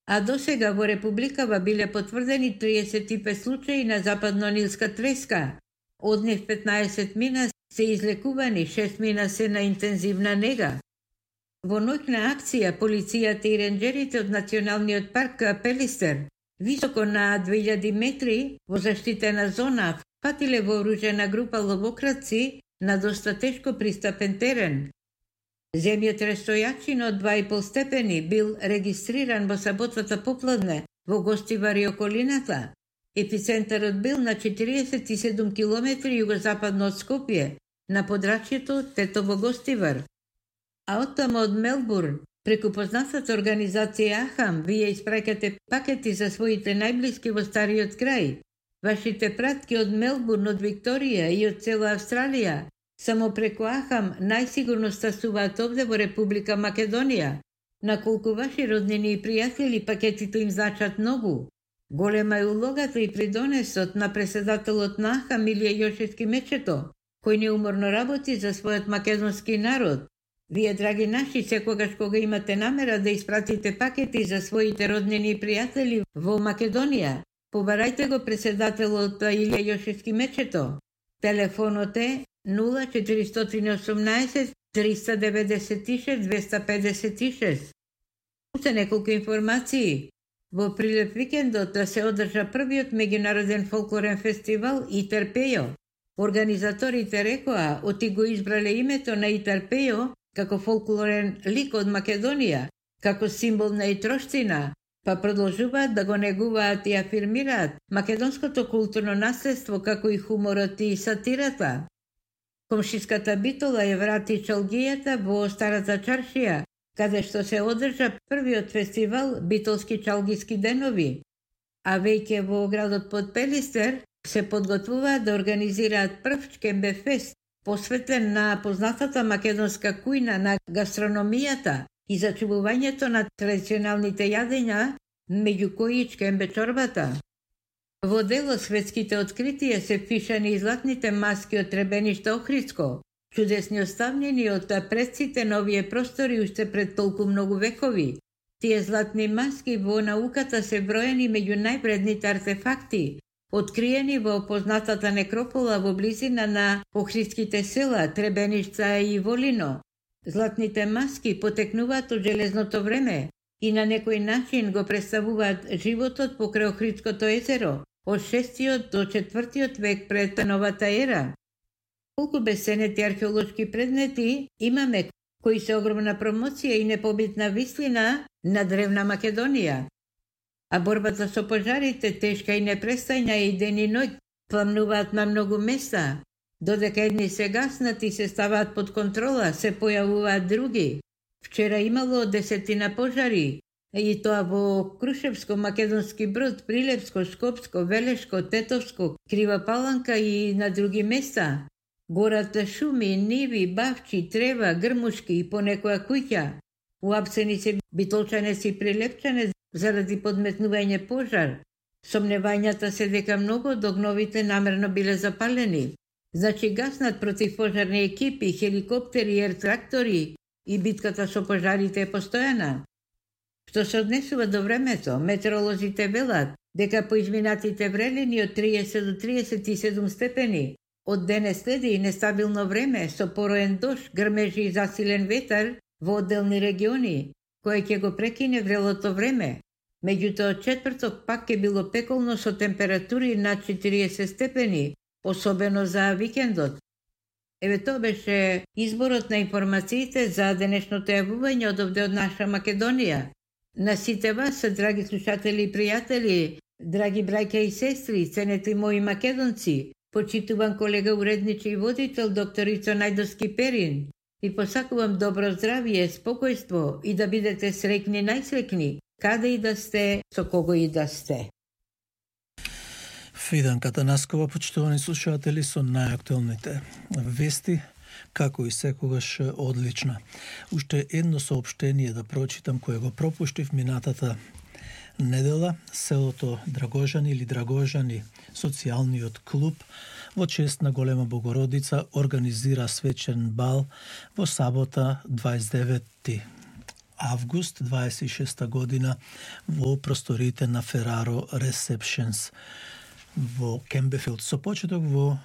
а досега во Републикава биле потврдени 35 случаи на западно-нилска треска. Од нив 15 мина се излекувани, 6 мина се на интензивна нега. Во ноќна акција, полицијата и ренџерите од Националниот парк Пелистер, високо на 2000 метри во заштитена зона, фатиле вооружена група ловократци на доста тешко пристапен терен. Земјотрес со јачина од 2,5 степени бил регистриран во саботата попладне во Гостивар и околината. Епицентарот бил на 47 километри југозападно од Скопје, на подрачјето Тетово-Гостивар. А оттаму од Мелбурн, преку познатата организација Ахам, вие испраќате пакети за своите најблиски во стариот крај. Вашите пратки од Мелбурн, од Викторија и од цела Австралија, само преку Ахам најсигурно стасуваат овде во Република Македонија. На колку ваши роднини и пријатели пакетите им значат многу. Голема е улогата и придонесот на преседателот на Ахам Илија Јошевски Мечето, кој неуморно работи за својот македонски народ. Вие, драги наши, секогаш кога имате намера да испратите пакети за своите роднини и пријатели во Македонија, побарајте го преседателот Илија Јошевски Мечето. Телефонот е 0418 396 256. Уште неколку информации. Во Прилеп викендот да се одржа првиот меѓународен фолклорен фестивал Итар-Пејо. Организаторите рекоа, оти го избрале името на Итар-Пејо како фолклорен лик од Македонија, како символ на итроштина, па продолжуваат да го негуваат и афирмираат македонското културно наследство, како и хуморот и сатирата. Комшиската Битола ја врати чалгијата во Старата чаршија, каде што се одржа првиот фестивал Битолски чалгиски денови. А веќе во градот Подпелистер се подготвуваат да организираат прв Чкембе фест, посветен на познатата македонска кујна, на гастрономијата и зачувувањето на традиционалните јадења, меѓу кои чкембе чорбата. Во дело светските откритија се впишани и златните маски од Требениште Охридско, чудесни оставнени од предците на овие простори уште пред толку многу векови. Тие златни маски во науката се броени меѓу највредните артефакти, откриени во познатата некропола во близина на охридските села Требеништа и Волино. Златните маски потекнуваат од железното време и на некој начин го представуваат животот покрај Охридското езеро од 6 до 4 век пред новата ера. Колку бесценети археолошки предмети имаме, кои се огромна промоција и непобитна вислина на древна Македонија. А борбата со пожарите тешка и непрестајна и ден и ноќ, пламнуваат на многу места. Додека едни се гаснат и се ставаат под контрола, се појавуваат други. Вчера имало 10 пожари, и тоа во Крушевско, Македонски Брод, Прилепско, Скопско, Велешко, Тетовско, Крива Паланка и на други места. Горат шуми, ниви, бавчи, трева, грмушки и по некоја куќа. Уапсени се битолчанеци и прилепчанец заради подметнување пожар. Сомневањата се дека многу од огновите намерно биле запалени. Значи гаснат противпожарни екипи, хеликоптери, ер-трактори и битката со пожарите е постојана. Што се однесува до времето, метеоролозите велат дека по изминатите врелини од 30 до 37 степени, од денес следи и нестабилно време со пороен дожд, грмежи и засилен ветар во одделни региони, кој ќе го прекине врелото време. Меѓутоа, од четврток пак ќе било пеколно со температури над 40 степени, особено за викендот. Еве тоа беше изборот на информациите за денешното јавување од овде од наша Македонија. На сите вас, драги слушатели и пријатели, драги браќа и сестри, ценети мои македонци, почитуван колега уредничи и водител докторица Најдовски Перин, и посакувам добро здравје, спокојство и да бидете среќни најсреќни, каде и да сте, со кого и да сте. Фиданка Танаскова, почитувани слушатели, со најактуелните вести, како и секогаш одлична. Уште едно соопштение да прочитам кое го пропуштив минатата недела. Селото Драгожани или Драгожани, социјалниот клуб, во чест на Голема Богородица организира свечен бал во сабота 29 август 26 година во просториите на Ferraro Receptions во Кембефилд со почеток во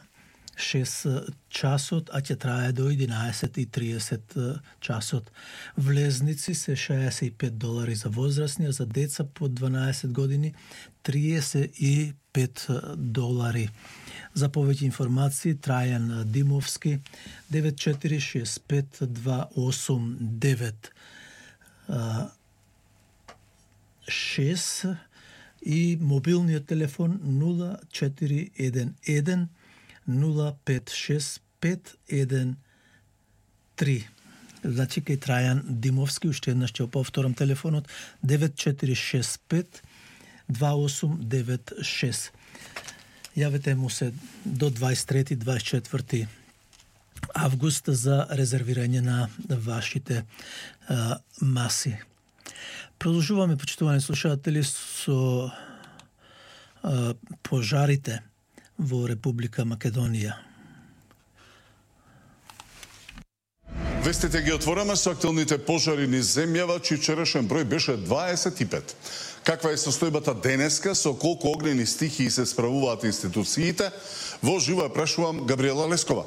6 часот, а ќе трае до 11:30 часот. Влезници се $65 за возрастни, а за деца под 12 години $35. За повеќе информации Трајан Димовски 94652896 и мобилниот телефон 0411 056513. Значи кај Трајан Димовски, уште еднаш ќе повторам телефонот 9465 2896. Јавете му се до 23-24 август за резервирање на вашите маси. Продолжуваме, почитувани слушатели, со пожарите во Република Македонија. Вестите ги отвораме со актуелните пожари низ земјава, чиј вчерашен број беше 25. Каква е состојбата денеска, со колку огнени стихии се справуваат институциите? Во живо ја прашувам Габриела Лескова.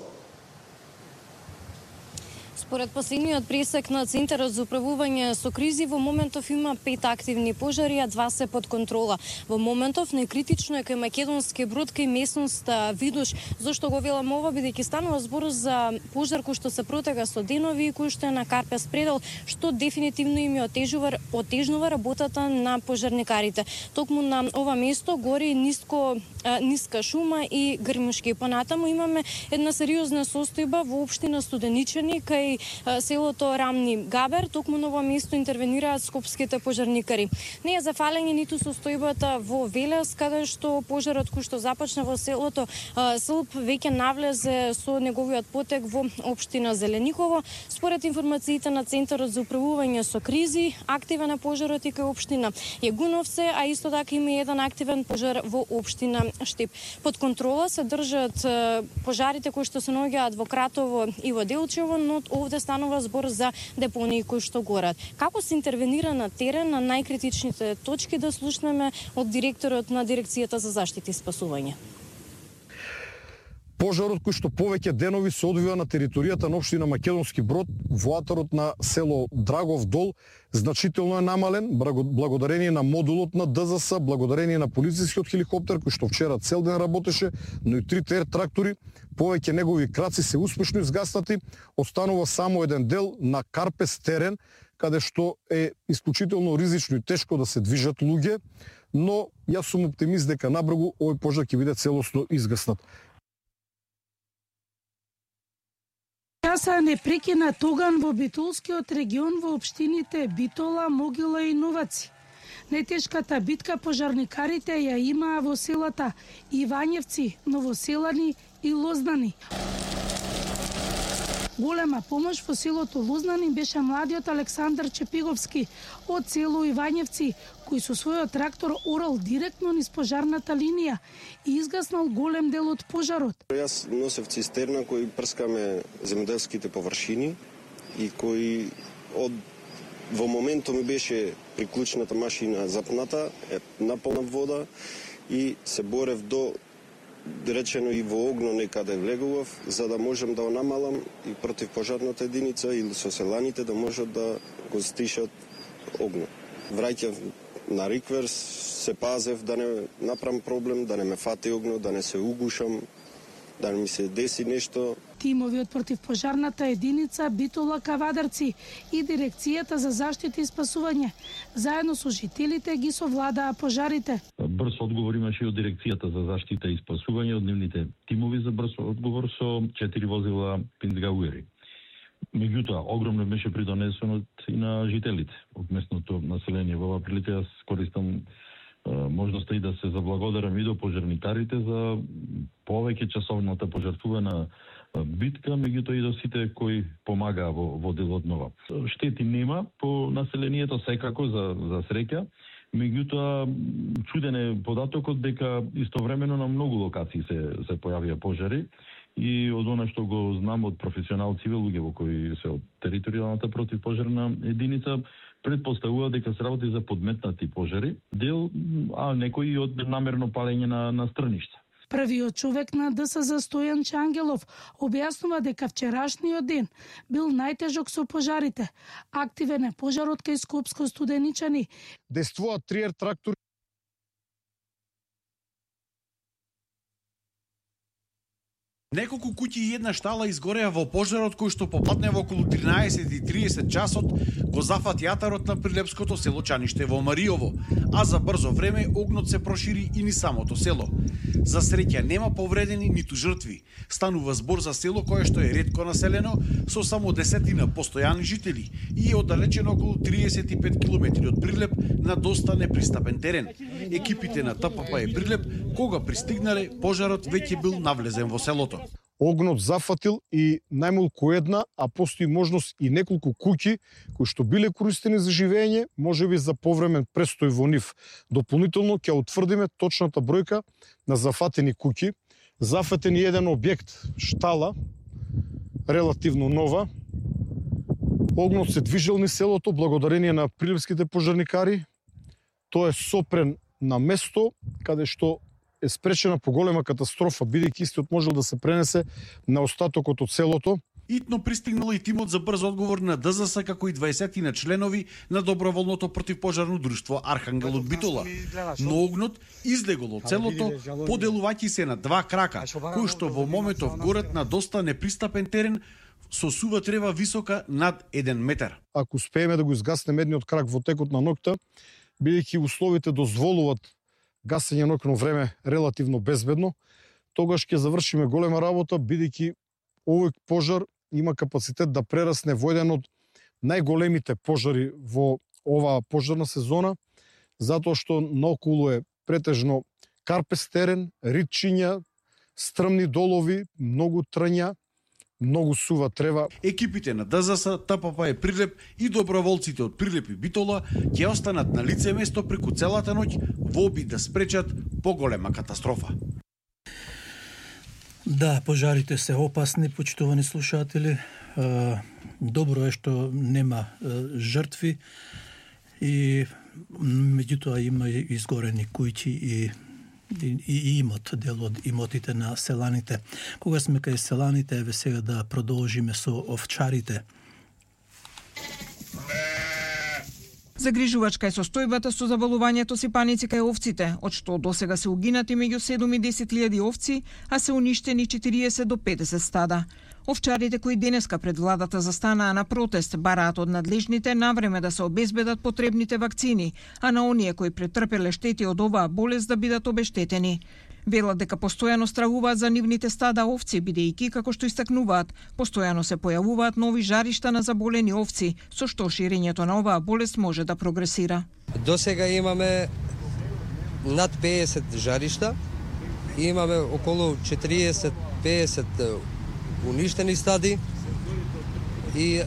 Според последниот пресек на Центарот за управување со кризи, во моментов има 5 активни пожари, а 2 се под контрола. Во моментов најкритично е кај Македонски Брод, кај месност Видуш. Зошто го велам ова? Бидејќи станува збор за пожар кој што се протега со денови и кој што е на Карпес предел, што дефинитивно им отежнува работата на пожарникарите. Токму на ова место гори ниска шума и грмушки. Понатаму имаме една сериозна состојба во општина Студеничани кај селото Рамни Габер. Токму на ова место интервенираат скопските пожарникари. Не е за фалење ниту состојбата во Велес, каде што пожарот кој што започна во селото Сълп веќе навлезе со неговиот потек во општина Зелениково. Според информациите на Центарот за управување со кризи, активен е пожарот и кај општина Јегуновце, а исто така има еден активен пожар во општина Штип. Под контрола се држат пожарите кои што се наоѓаат во Кратово и во Делчево, но овде станува збор за депонии кои што горат. Како се интервенира на терен на најкритичните точки, да слушнеме од директорот на Дирекцијата за заштита и спасување. Пожарот кој што повеќе денови се одвива на територијата на општина Македонски Брод, во атарот на село Драгов Дол, значително е намален благодарение на модулот на ДЗС, благодарение на полицискиот хеликоптер кој што вчера цел ден работеше, но и 3 трактори, повеќе негови краци се успешно изгаснати. Останува само еден дел на Карпес терен, каде што е исклучително ризично и тешко да се движат луѓе, но јас сум оптимист дека набрзо овој пожар ќе биде целосно изгаснат. Часа непрекинат оган во Битолскиот регион во општините Битола, Могила и Новаци. Најтешката битка пожарникарите ја имаа во селата Ивањевци, Новоселани и Лознани. Голема помош во селото Лознани беше младиот Александар Чепиговски од село Ивањевци, кој со својот трактор орал директно низ пожарната линија и изгаснал голем дел од пожарот. Јас носев цистерна кој прскаме земјоделските површини и кој во моментот ми беше приклучната машина запната, наполна вода и се борев до речено и во огно некаде влегував, за да можам да го намалам и против пожарната единица или со селаните да можат да го стишат огно. Враќав на рикверс, се пазев да не направам проблем, да не ме фати огно, да не се угушам, да не ми се деси нешто. Тимови од противпожарната единица Битола Кавадарци и Дирекцијата за заштита и спасување заедно со жителите ги совладаа пожарите. Брз одговор имаше од Дирекцијата за заштита и спасување, од нивните тимови за брз одговор со 4 возила Пинцгауери. Меѓутоа, огромно беше придонесено и на жителите од местното население. Во оваа прилика јас користам можноста и да се заблагодарам и до пожарникарите за повеќе часовната пожртвувана битка, меѓутоа и до сите кои помагаа во делот нова. Штети нема по населението секако за среќа, меѓутоа чуден е податокот дека истовремено на многу локации се појавија пожари и од она што го знам од професионалци луѓе во кои се од територијалната противпожарна единица, предпоставува дека се работи за подметнати пожари, дел, а некои од намерно палење на стрништа. Првиот човек на ДСЗ Стојан Чангелов објаснува дека вчерашниот ден бил најтежок со пожарите. Активен е пожарот кај Скопско Студеничани. Действуваат 3 трактори. Неколку куќи и една штала изгореа во пожарот кој што попадне во околу 13:30 часот го зафат јатарот на прилепското село Чаниште во Мариово, а за брзо време огнот се прошири и ни самото село. За среќа нема повредени ниту жртви. Станува збор за село кое што е ретко населено со само 10 постојани жители и е оддалечено околу 35 км од Прилеп на доста непристапен терен. Екипите на ТПП Прилеп кога пристигнале, пожарот веќе бил навлезен во селото. Огнот зафатил и најмалку една, а постои можност и неколку куќи кои што биле користени за живење, можеби за повремен престој во нив. Дополнително ќе утврдиме точната бројка на зафатени куќи. Зафатен еден објект, штала, релативно нова. Огнот се движел низ селото благодарение на прилепските пожарникари. Тој е сопрен на место каде што е спречена поголема катастрофа, бидејќи истиот можел да се пренесе на остатокот од селото. Итно пристигнал и тимот за брз одговор на ДЗС, како и 20 на членови на доброволното противпожарно друштво Архангел од Битола. Но огнот излегол од селото, поделувајќи се на 2 крака, кои што во моментов горат на доста непристапен терен со сува трева висока над 1 метар. Ако успееме да го изгаснеме едниот крак во текот на ноќта, бидејќи условите дозволуваат гасење ноќно време релативно безбедно, тогаш ќе завршиме голема работа, бидејќи овој пожар има капацитет да прерасне во еден од најголемите пожари во оваа пожарна сезона, затоа што наоколу е претежно карпес терен, ритчиња, стрмни долови, многу трња, многу сува трева. Екипите на ДЗС, ТПП Прилеп и доброволците од Прилеп и Битола ќе останат на лице место преку целата ноќ во обид да спречат поголема катастрофа. Да, пожарите се опасни, почитувани слушатели. Добро е што нема жртви и меѓутоа има изгорени куќи и имот, дел од имотите на селаните. Кога сме кај селаните, еве сега да продолжиме со овчарите. Загрижувачка е состојбата со заболувањето сипаници кај овците, од што досега се угинати меѓу 7 и 10.000 овци, а се уништени 40 до 50 стада. Овчарите кои денеска пред владата застанаа на протест бараат од надлежните навреме да се обезбедат потребните вакцини, а на оние кои претрпеле штети од оваа болест да бидат обештетени. Велат дека постојано стравуваат за нивните стада овци, бидејќи, како што истакнуваат, постојано се појавуваат нови жаришта на заболени овци, со што ширењето на оваа болест може да прогресира. До сега имаме над 50 жаришта, имаме околу 40-50 уништени стади и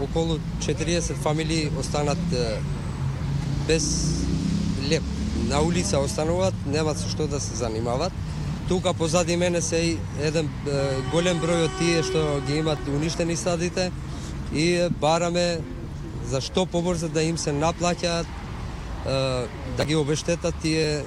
околу 40 фамилии останат без леп. На улица остануваат, немаат со што да се занимаваат. Тука позади мене се еден голем број од тие што ги имат уништени стадите и бараме за што побрзо да им се наплаќаат, да ги обештетат тие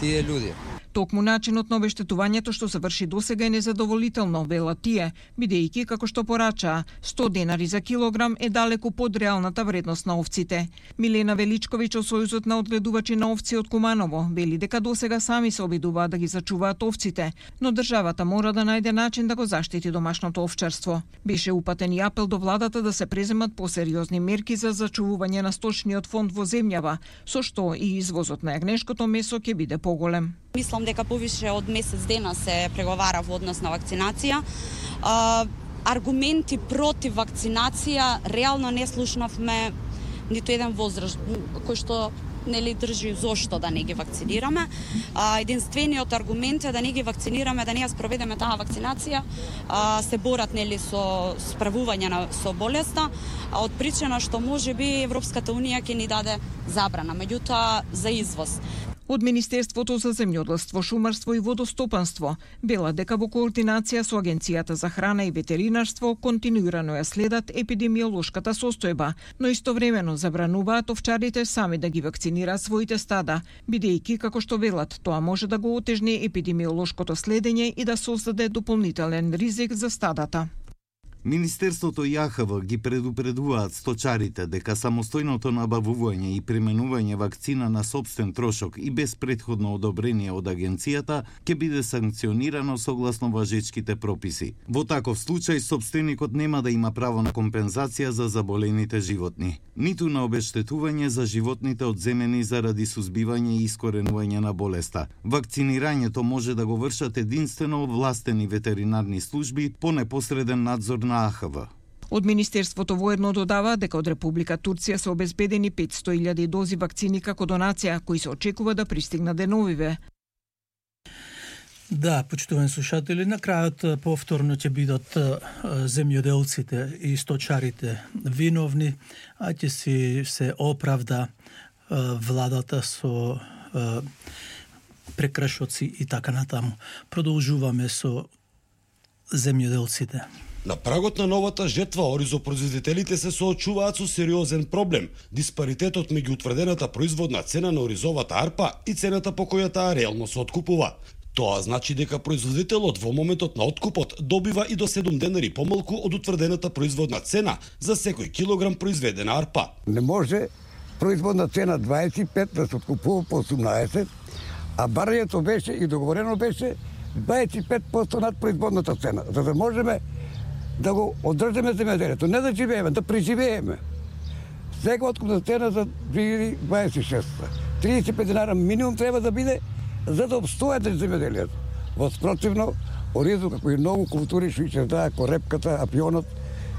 луѓе. Токму начинот на обештетувањето што се врши досега е незадоволително, велат тие, бидејќи, како што порачаа, 100 денари за килограм е далеку под реалната вредност на овците. Милена Величковиќ од Сојузот на одгледувачи на овци од Куманово вели дека досега сами се обидуваат да ги зачуваат овците, но државата мора да најде начин да го заштити домашното овчарство. Беше упатен и апел до владата да се преземат посериозни мерки за зачувување на сточниот фонд во земјава, со што и извозот на јагнешкото месо ќе биде поголем. Мислам дека повише од месец дена се преговара во однос на вакцинација. Аргументи против вакцинација реално не слушнавме ниту еден возраст кој што нели држи зошто да не ги вакцинираме. Единствениот аргумент е да не ги вакцинираме, да не ја спроведеме таа вакцинација, се борат нели со справување со болеста, од причина што можеби Европската унија ќе ни даде забрана, меѓутоа за извоз. Од Министерството за земјоделство, шумарство и водостопанство велат дека во координација со Агенцијата за храна и ветеринарство континуирано ја следат епидемиолошката состојба, но истовремено забрануваат овчарите сами да ги вакцинираат своите стада, бидејќи, како што велат, тоа може да го отежни епидемиолошкото следење и да создаде дополнителен ризик за стадата. Министерството и АХВ ги предупредуваат сточарите дека самостојното набавување и применување вакцина на сопствен трошок и без претходно одобрение од агенцијата ќе биде санкционирано согласно важечките прописи. Во таков случај сопственикот нема да има право на компензација за заболените животни, ниту на обештетување за животните одземени заради сузбивање и искоренување на болеста. Вакцинирањето може да го вршат единствено властени ветеринарни служби по непосреден надзор на АХВ. Од Министерството воедно додава дека од Република Турција се обезбедени 500.000 дози вакцини како донација, кои се очекува да пристигнат деновиве. Да, почитувани слушатели, на крајот повторно ќе бидат земјоделците и сточарите виновни, а ќе си се оправда владата со прекрашоци и така натаму. Продолжуваме со земјоделците. На прагот на новата жетва, оризопроизводителите се соочуваат со сериозен проблем – диспаритетот меѓу утврдената производна цена на оризовата арпа и цената по која таа реално се откупува. Тоа значи дека производителот во моментот на откупот добива и до 7 денари помалку од утврдената производна цена за секој килограм произведена арпа. Не може производна цена 25 да се откупува по 18, а барањето беше и договорено беше 25% над производната цена, за да можеме да го одржиме земјоделието, не да живееме, да преживееме. Сега откупна цена за 2026. 35 динара минимум треба да биде за да обстојат земјоделието. Во спротивно, оризо како и многу култури што ќе даа корепката, апионот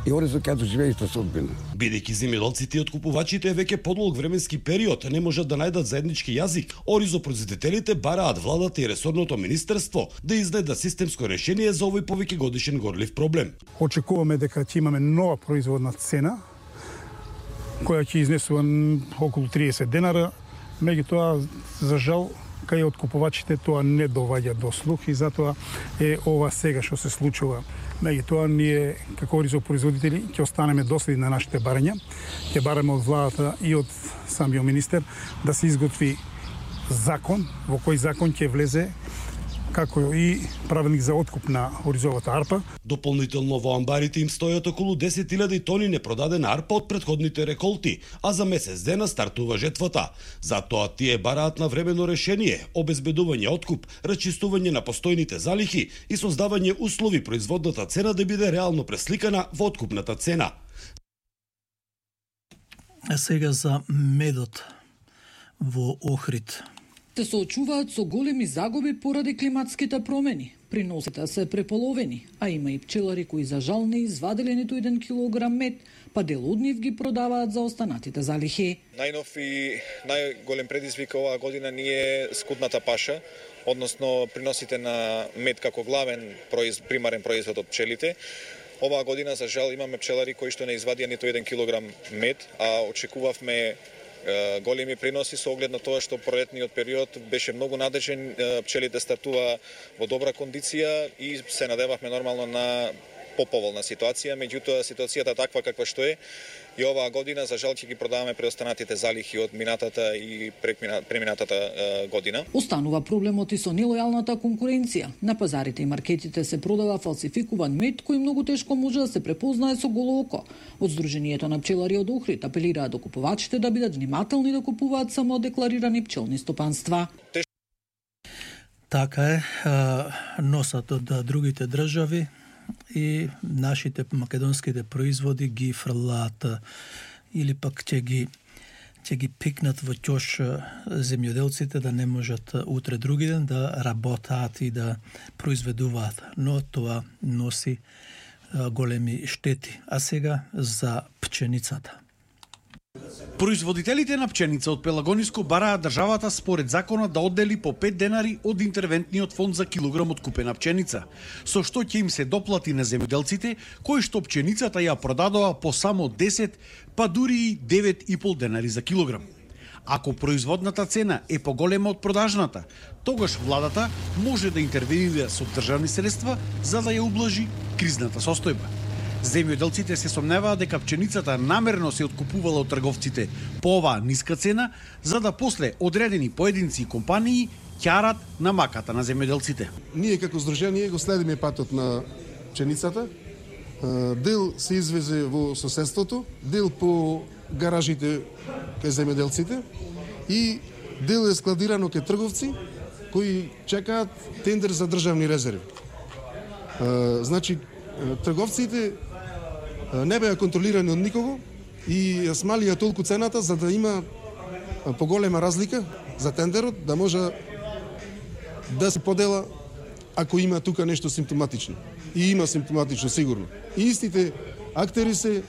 и оризо ќе доживее иста судбина. Бидејќи земјоделците и откупувачите веќе подолг временски период не можат да најдат заеднички јазик, оризопроизводителите бараат владата и ресорното министерство да изнайдат системско решение за овој повеќе годишен горлив проблем. Очекуваме дека ќе имаме нова производна цена која ќе изнесува околу 30 денара, меѓутоа за жал кај откупувачите тоа не доваѓа до слух и затоа е ова сега што се случува. Меѓутоа ние како оризопроизводители ќе останеме доследни на нашите барања. Ќе бараме од владата и од самиот министер да се изготви закон, во кој закон ќе влезе како и правилник за откуп на оризовата арпа. Дополнително во амбарите им стојат околу 10.000 тони непродадена арпа од претходните реколти, а за месец дена стартува жетвата. Затоа тие бараат на времено решение, обезбедување откуп, рачистување на постојните залихи и создавање услови производната цена да биде реално пресликана во откупната цена. А сега за медот во Охрид. Се соочуваат со големи загуби поради климатските промени. Приносите се преполовени, а има и пчелари кои за жал не извадиле ниту 1 килограм мед, па дел од нив ги продаваат за останатите залихи. Најнов и најголем предизвик оваа година ни е скудната паша, односно приносите на мед како главен примарен производ од пчелите. Оваа година за жал имаме пчелари кои што не извадија ниту 1 килограм мед, а очекувавме големи приноси со оглед на тоа што пролетниот период беше многу надежен, пчелите стартува во добра кондиција и се надевавме нормално на поповолна ситуација, меѓутоа ситуацијата таква каква што е и оваа година за жал ќе ги продаваме преостанатите залихи од минатата и преминатата година. Останува проблемот и со нелојалната конкуренција. На пазарите и маркетите се продава фалсификуван мед кој многу тешко може да се препознае со голо око. Од Сдруженијето на пчелари од Охрид апелираат до купувачите да бидат внимателни да купуваат само декларирани пчелни стопанства. Така е, носат од другите држави и нашите македонските производи ги фрлаат или пак ќе ги пикнат во ќош земјоделците да не можат утре други ден да работаат и да произведуваат, но тоа носи големи штети. А сега за пченицата. Производителите на пченица од Пелагониско бараат државата според законот да оддели по 5 денари од интервентниот фонд за килограм откупена пченица, со што ќе им се доплати на земјоделците кои што пченицата ја продадоа по само 10, па дури и 9,5 денари за килограм. Ако производната цена е поголема од продажната, тогаш владата може да интервенира со државни средства за да ја ублажи кризната состојба. Земјоделците се сомневаат дека пченицата намерно се откупувала од трговците по оваа ниска цена, за да после одредени поединци и компании ќарат на маката на земјоделците. Ние како здружение го следиме патот на пченицата. Дел се извезе во соседството, дел по гаражите кај земјоделците и дел е складирано кај трговци кои чекаат тендер за државни резерви. Значи, трговците не беа контролирани од никого и смалија толку цената за да има поголема разлика за тендерот, да може да се подела ако има тука нешто симптоматично. И има симптоматично, сигурно. И истите актери се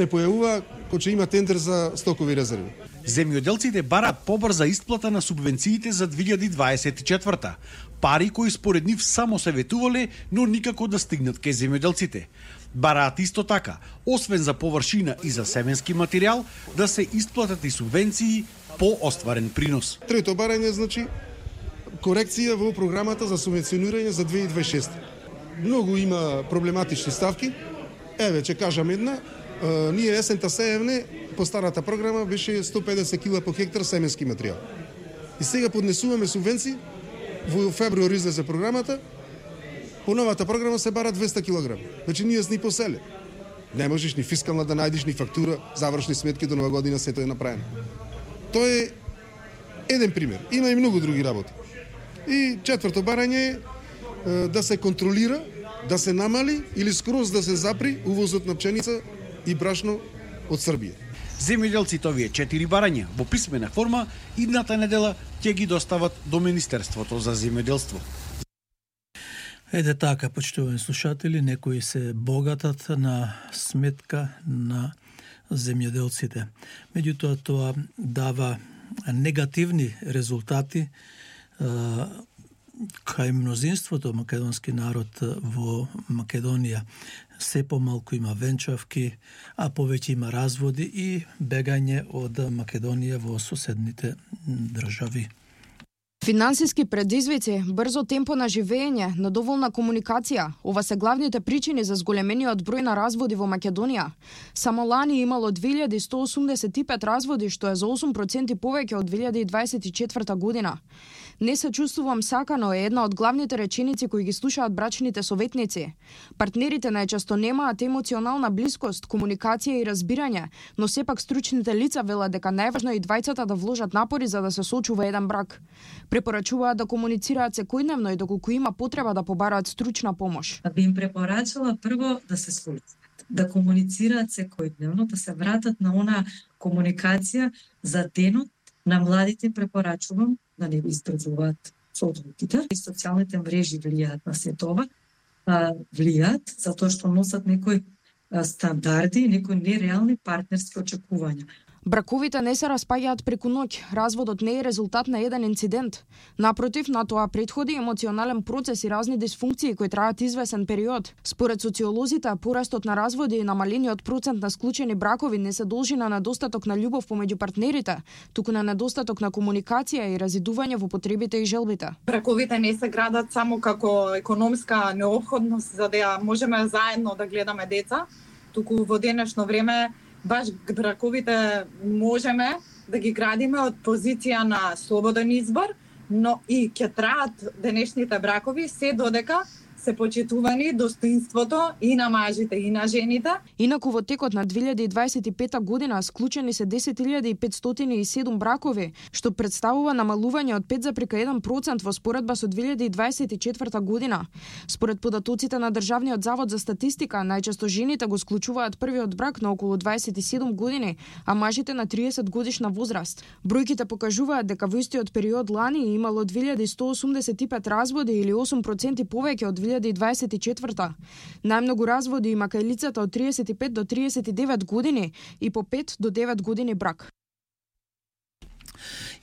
појавува кога има тендер за стокови резерви. Земјоделците бараат побрза исплата на субвенциите за 2024-та. Пари кои според нив само се ветувале, но никако да стигнат кај земјоделците. Бараат исто така, освен за површина и за семенски материјал, да се исплатат и субвенции по остварен принос. Трето барање, значи, корекција во програмата за субвенционирање за 2026. Многу има проблематични ставки. Еве, ќе кажам една. Ние есента сеевне, по старата програма беше 150 кила по хектар семенски материјал. И сега поднесуваме субвенции, во февруари излезе програмата, по новата програма се бара 200 кг. Значи ние сни поселе. Не можеш ни фискална да најдеш, ни фактура, завршни сметки до нова година, сето е направено. Тоа е еден пример. Има и многу други работи. И четврто барање е да се контролира, да се намали или скроз да се запри увозот на пченица и брашно од Србија. Земјоделците овие 4 барања во писмена форма идната недела ќе ги достават до Министерството за земјоделство. Еде така, почитувани слушатели, некои се богатат на сметка на земјоделците. Меѓутоа тоа дава негативни резултати кај мнозинството македонски народ во Македонија. Се помалку има венчавки, а повеќе има разводи и бегање од Македонија во соседните држави. Финансиски предизвици, брзо темпо на живење, недоволна комуникација, ова се главните причини за зголемениот број на разводи во Македонија. Само лани имало 2185 разводи, што е за 8% повеќе од 2024 година. Не се чувствувам сакано е една од главните реченици кои ги слушаат брачните советници. Партнерите најчесто немаат емоционална блискост, комуникација и разбирање, но сепак стручните лица велат дека најважно е и двајцата да вложат напори за да се сочува еден брак. Препорачуваат да комуницираат секојдневно и доколку има потреба да побараат стручна помош. Би им препорачала прво да се слушаат, да комуницираат секојдневно, да се вратат на она комуникација за денот. На младите препорачувам да не избрзуваат со одлуките. И социјалните мрежи влијаат на се тоа, влијаат затоа што носат некои стандарди, некои нереални партнерски очекувања. Браковите не се распаѓаат преку ноќ. Разводот не е резултат на еден инцидент. Напротив, на тоа претходи емоционален процес и разни дисфункции кои траат извесен период. Според социолозите, порастот на разводи и намалениот процент на склучени бракови не се должи на недостаток на љубов помеѓу партнерите, туку на недостаток на комуникација и разидување во потребите и желбите. Браковите не се градат само како економска необходност за да можеме заедно да гледаме деца, туку во денешно време баш браковите можеме да ги градиме од позиција на слободен избор, но и ќе траат денешните бракови се додека се почитувани достоинството и на мажите и на жените. Инаку во текот на 2025 година склучени се 10.507 бракови, што представува намалување од 5,1% во споредба со 2024 година. Според податоците на Државниот завод за статистика, најчесто жените го склучуваат првиот брак на околу 27 години, а мажите на 30 годишна возраст. Бројките покажуваат дека во истиот период лани имало 2185 разводи или 8% повеќе од 2024. Најмногу разводи има кај лицата од 35 до 39 години и по 5 до 9 години брак.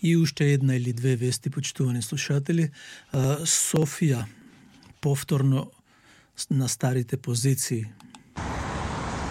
И уште една или две вести, почитувани слушатели. Софија повторно на старите позиции.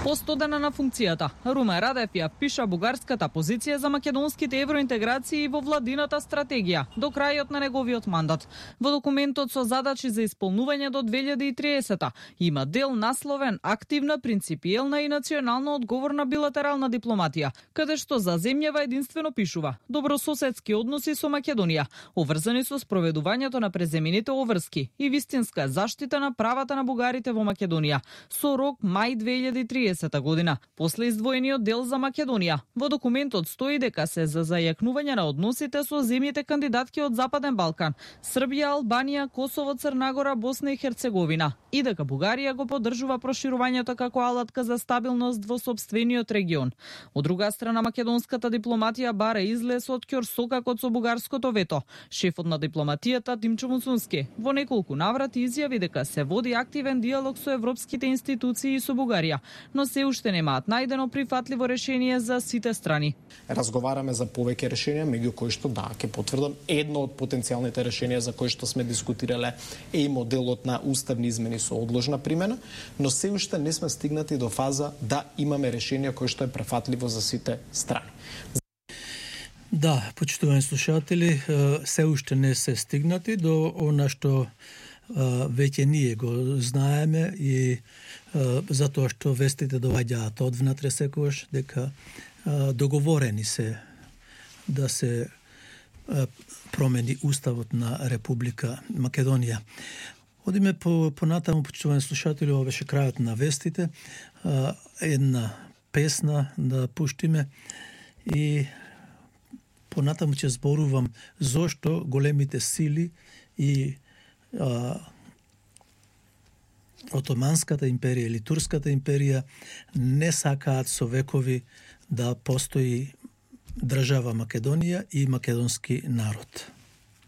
По 100 дена на функцијата, Румен Радев ја пиша бугарската позиција за македонските евроинтеграции во владината стратегија до крајот на неговиот мандат. Во документот со задачи за исполнување до 2030 има дел насловен активна, принципиелна и национално одговорна билатерална дипломатија, каде што за земјава единствено пишува добрососедски односи со Македонија, обврзани со спроведувањето на преземените обврски и вистинска заштита на правата на бугарите во Македонија, со рок мај 2030 година, после издвоениот дел за Македонија. Во документот стои дека се за зајакнување на односите со земјите кандидатки од Западен Балкан, Србија, Албанија, Косово, Црна Гора, Босна и Херцеговина, и дека Бугарија го поддржува проширувањето како алатка за стабилност во сопствениот регион. Од друга страна, македонската дипломатија бара излез од ќорсокакот со бугарското вето. Шефот на дипломатијата Димчо Муцунски во неколку наврати изјави дека се води активен диалог со европските институции и со Бугарија, но се уште немаат најдено прифатливо решение за сите страни. Разговараме за повеќе решенија, меѓу кои што ќе потврдам, едно од потенцијалните решенија за кои што сме дискутирале е и моделот на уставни измени со одложна примена, но се уште не сме стигнати до фаза да имаме решение кој што е префатливо за сите страни. Да, почитувани слушатели, се уште не се стигнати до она што веќе ние го знаеме и затоа што вестите доаѓаат одвнатре секогаш дека договорени се да се промени уставот на Република Македонија. Одиме понатаму, почитувани слушатели, ова беше крајот на вестите. Една песна да пуштиме и понатаму ќе зборувам зошто големите сили и Отоманската империја или Турската империја не сакаат со векови да постои држава Македонија и македонски народ.